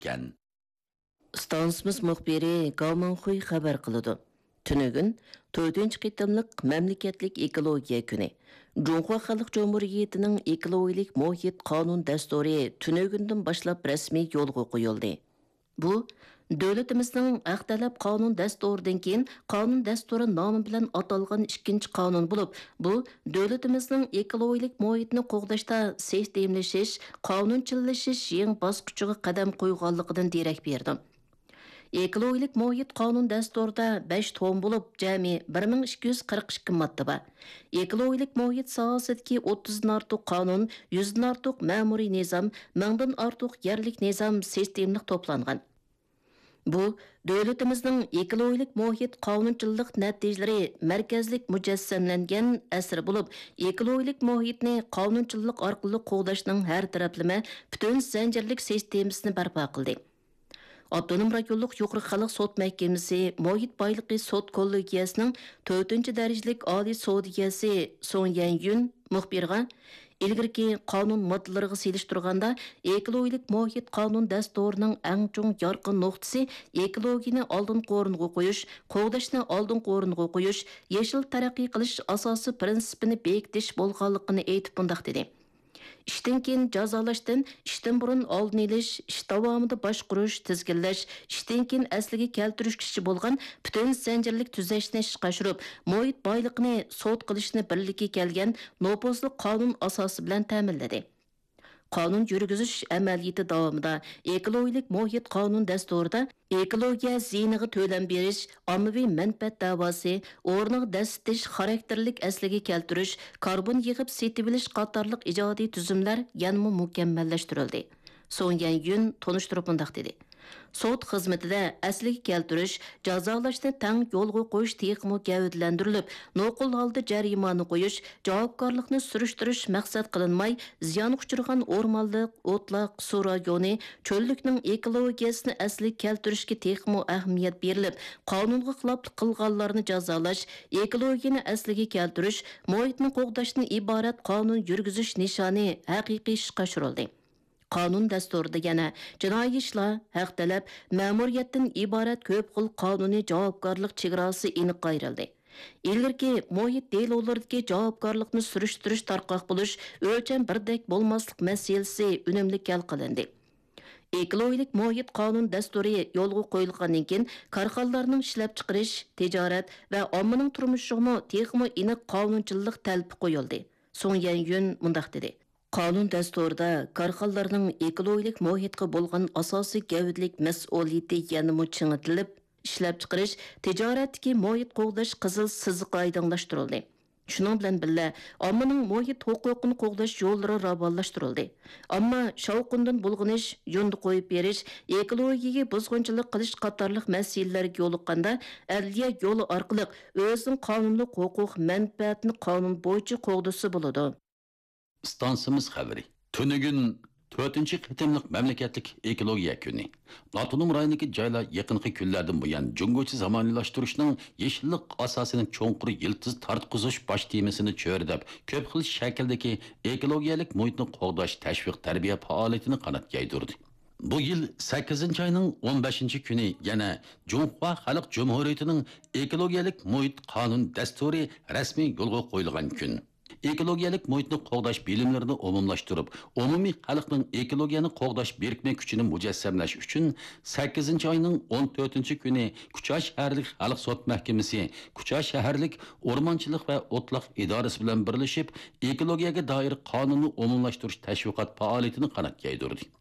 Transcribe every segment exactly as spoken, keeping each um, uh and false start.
ئۆتكەن. ئىستانسىمىز مۇخبىرى گاۋ مىڭخۇي خەۋەر قىلىدۇ. تۈنۈگۈن تۆتىنچى قېتىملىق مەملىكەتلىك ئېكولوگىيە كۈنى. جۇڭخۇا خەلق جۇمھۇرىيىتىنىڭ ئېكولوگىيەلىك مۇھىت قانۇن دەستۇرى تۈنۈگۈندىن باشلاپ رەسمىي يولغا قويۇلدى. بۇ، دۆلىتىمىزنىڭ ھەق تەلەپ قانۇن دەستۇرىدىن كېيىن قانۇن دەستۇرى نامى بىلەن ئاتالغان ئىككىنچى قانۇن بولۇپ، بۇ، دۆلىتىمىزنىڭ ئېكولوگىيەلىك مۇھىتنى قوغداشتا سىستېمىلىشىش، قانۇنچىللىشىش يېڭى باسقۇچىغا قەدەم قويغانلىقىدىن دېرەك بېرىدۇ. ئېكولوگىيەلىك مۇھىت قانۇن دەستۇرىدا بەش توم بولۇپ، جەمئىي بىر مىڭ ئىككى يۈز قىرىق ئىككى ماددا بار. ئېكولوگىيەلىك مۇھىت ساھەسىدىكى ئوتتۇزدىن ئارتۇق قانۇن، يۈزدىن ئارتۇق مەمۇرىي نىزام، مىڭدىن ئارتۇق يەرلىك نىزام سىستېمىلىق توپلانغان. بۇ، دۆلىتىمىزنىڭ ئېكولوگىيەلىك مۇھىت قانۇنچىللىق نەتىجىلىرى مەركەزلىك مۇجەسسەملەنگەن ئەسىرى بولۇپ، ئېكولوگىيەلىك مۇھىتنى قانۇنچىللىق ئارقىلىق قوغداشنىڭ ھەر تەرەپلىمە پۈتۈن زەنجىرلىك سىستېمىسىنى بەرپا قىلدى. ئاپتونوم رايونلۇق يۇقىرى خەلق سوت مەھكىمىسى مۇھىت بايلىقى سوت كوللېگىيەسىنىڭ تۆتىنچى دەرىجىلىك ئالىي سودىيەسى سۇڭ يەنيۈن مۇخبىرغا، ئىلگىرىكى قانۇن ماددىلىرىغا سېلىشتۇرغاندا، ئېكولوگىيەلىك مۇھىت قانۇن دەستۇرىنىڭ ئەڭ چوڭ يارقىن نۇقتىسى ئېكولوگىيەنى ئالدىنقى ئورۇنغا قويۇش، قوغداشنى ئالدىنقى ئورۇنغا قويۇش، يېشىل تەرەققىي قىلىش ئاساسىي پىرىنسىپىنى بېكىتىش بولغانلىقىنى ئېيتىپ مۇنداق دېدى. ئىشتىن كېيىن جازالاشتىن ئىشتىن بۇرۇن ئالدىنى ئېلىش، ئىش داۋامىدا باشقۇرۇش، تىزگىنلەش، ئىشتىن كېيىن ئەسلىگە كەلتۈرۈشكىچە بولغان پۈتۈن زەنجىرلىك تۈزەشنى ئىشقا ئاشۇرۇپ، مۇھىت بايلىقىنى سوت قىلىشنى بىرلىككە كەلگەن نوپۇزلۇق قانۇن ئاساسى بىلەن تەمىنلىدى. قانۇن يۈرگۈزۈش ئەمەلىيىتى داۋامىدا ئېكولوگىيەلىك مۇھىت قانۇن دەستۇرىدا ئېكولوگىيە زىيىنىغا تۆلەم بېرىش، ئاممىۋى مەنپەئەت دەۋاسى، ئورنىغا دەسسىتىش، خاراكتېرلىك ئەسلىگە كەلتۈرۈش، كاربون يىغىپ سېتىۋېلىش قاتارلىق ئىجادىي تۈزۈملەر يەنىمۇ مۇكەممەللەشتۈرۈلدى. سۇڭ يەنيۈن تونۇشتۇرۇپ مۇنداق دېدى: سوت خىزمىتىدە ئەسلىگە كەلتۈرۈش، جازالاشنى تەڭ يولغا قويۇش تېخىمۇ گەۋدىلەندۈرۈلۈپ، نوقۇل ھالدا جەرىمانە قويۇش، جاۋابكارلىقنى سۈرۈشتۈرۈش مەقسەت قىلىنماي، زىيانغا ئۇچرىغان ئورمانلىق، ئوتلاق، سۇ رايونى، چۆللۈكنىڭ ئېكولوگىيەسىنى ئەسلىگە كەلتۈرۈشكە تېخىمۇ ئەھمىيەت بېرىلىپ، قانۇنغا خىلاپلىق قىلغانلارنى جازالاش، ئېكولوگىيەنى ئەسلىگە كەلتۈرۈش، مۇھىتنى قوغداشتىن ئىبارەت قانۇن يۈرگۈزۈش نىشانى ھەقىقىي ئىشقا ئاشۇرۇلدى. قانۇن دەستۇرىدا يەنە جىنايى ئىشلار، ھەق تەلەپ، مەمۇرىيەتتىن ئىبارەت كۆپ خىل قانۇنىي جاۋابكارلىق چېگراسى ئېنىق ئايرىلدى. ئىلگىرىكى مۇھىت دېلولىرىدىكى جاۋابكارلىقنى سۈرۈشتۈرۈش تارقاق بولۇش، ئۆلچەم بىردەك بولماسلىق مەسىلىسى ئۈنۈملۈك ھەل قىلىندى. ئېكولوگىيەلىك مۇھىت قانۇن دەستۇرى يولغا قويۇلغاندىن كېيىن، كارخانىلارنىڭ ئىشلەپچىقىرىش، تىجارەت ۋە ئاممىنىڭ تۇرمۇشىغىمۇ تېخىمۇ ئېنىق قانۇنچىللىق تەلىپى قويۇلدى. سۇڭ يەنيۈن مۇنداق دېدى: قانۇن دەستۇرىدا كارخانىلارنىڭ ئېكولوگىيەلىك مۇھىتقا بولغان ئاساسىي گەۋدىلىك مەسئۇلىيىتى يەنىمۇ چىڭىتىلىپ، ئىشلەپچىقىرىش، تىجارەتتىكى مۇھىت قوغداش قىزىل سىزىق ئايدىڭلاشتۇرۇلدى. شۇنىڭ بىلەن بىللە، ئاممىنىڭ مۇھىت ھوقۇقىنى قوغداش يوللىرى راۋانلاشتۇرۇلدى. ئامما شاۋقۇندىن بۇلغىنىش، يۇندى قويۇپ بېرىش، ئېكولوگىيەگە بۇزغۇنچىلىق قىلىش قاتارلىق مەسىلىلەرگە يولۇققاندا، ئەدلىيە يولى ئارقىلىق ئۆزىنىڭ قانۇنلۇق ھوقۇق مەنپەئەتىنى قانۇن بويىچە قوغدىسا بولىدۇ. ئىستانسىمىز خەۋىرى. تۈنۈگۈن تۆتىنچى قېتىملىق مەملىكەتلىك ئېكولوگىيە كۈنى. ئاپتونوم رايوندىكى جايلار يېقىنقى كۈنلەردىن بۇيان جۇڭگوچە زامانىۋىلاشتۇرۇشنىڭ يېشىللىق ئاساسىنى چوڭقۇر يىلتىز تارتقۇزۇش باش تېمىسىنى چۆرىدەپ، كۆپ خىل شەكىلدىكى ئېكولوگىيەلىك مۇھىتنى قوغداش تەشۋىق تەربىيە پائالىيىتىنى قانات يايدۇردى. بۇ يىل سەككىزىنچى ئاينىڭ ئون بەشىنچى كۈنى يەنە جۇڭخۇا خەلق جۇمھۇرىيىتىنىڭ ئېكولوگىيەلىك مۇھىت قانۇن دەستۇرى رەسمىي يولغا قويۇلغان كۈن. ئېكولوگىيەلىك مۇھىتنى قوغداش بىلىملىرىنى ئومۇملاشتۇرۇپ، ئومۇمىي خەلقنىڭ ئېكولوگىيەنى قوغداش بىرىكمە كۈچىنى مۇجەسسەملەش ئۈچۈن، سەككىزىنچى ئاينىڭ ئون تۆتىنچى كۈنى كۇچا شەھەرلىك خەلق سوت مەھكىمىسى، كۇچا شەھەرلىك ئورمانچىلىق ۋە ئوتلاق ئىدارىسى بىلەن بىرلىشىپ، ئېكولوگىيەگە دائىر قانۇننى ئومۇملاشتۇرۇش تەشۋىقات پائالىيىتىنى قانات يايدۇردى.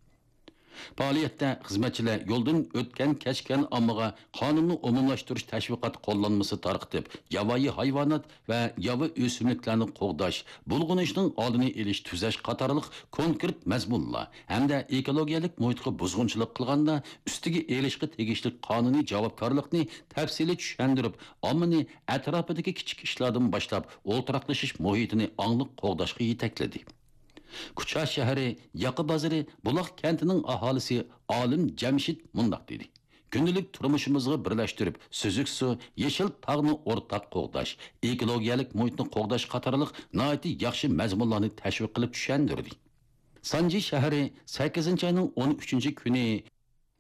پائالىيەتتە خىزمەتچىلەر يولدىن ئۆتكەن-كەچكەن ئاممىغا قانۇننى ئومۇملاشتۇرۇش تەشۋىقات قوللانمىسى تارقىتىپ، ياۋايى ھايۋانات ۋە ياۋا ئۆسۈملۈكلەرنى قوغداش، بۇلغىنىشنىڭ ئالدىنى ئېلىش، تۈزەش قاتارلىق كونكرېت مەزمۇنلار ھەمدە ئېكولوگىيەلىك مۇھىتقا بۇزغۇنچىلىق قىلغاندا ئۈستىگە ئېلىشقا تېگىشلىك قانۇنىي جاۋابكارلىقنى تەپسىلىي چۈشەندۈرۈپ، ئاممىنى ئەتراپىدىكى كىچىك ئىشلاردىن باشلاپ ئولتۇراقلىشىش مۇھىتىنى ئاڭلىق قوغداشقا يېتەكلىدى. كۇچا شەھىرى ياقا بازىرى بۇلاق كەنتىنىڭ ئاھالىسى ئالىم جەمشىت مۇنداق دېدى: كۈندىلىك تۇرمۇشىمىزغا بىرلەشتۈرۈپ، سۈزۈك سۇ، يېشىل تاغنى ئورتاق قوغداش، ئېكولوگىيەلىك مۇھىتنى قوغداش قاتارلىق ناھايىتى ياخشى مەزمۇنلارنى تەشۋىق قىلىپ چۈشەندۈردى. سانجى شەھىرى سەككىزىنچى ئاينىڭ ئون ئۈچىنچى كۈنى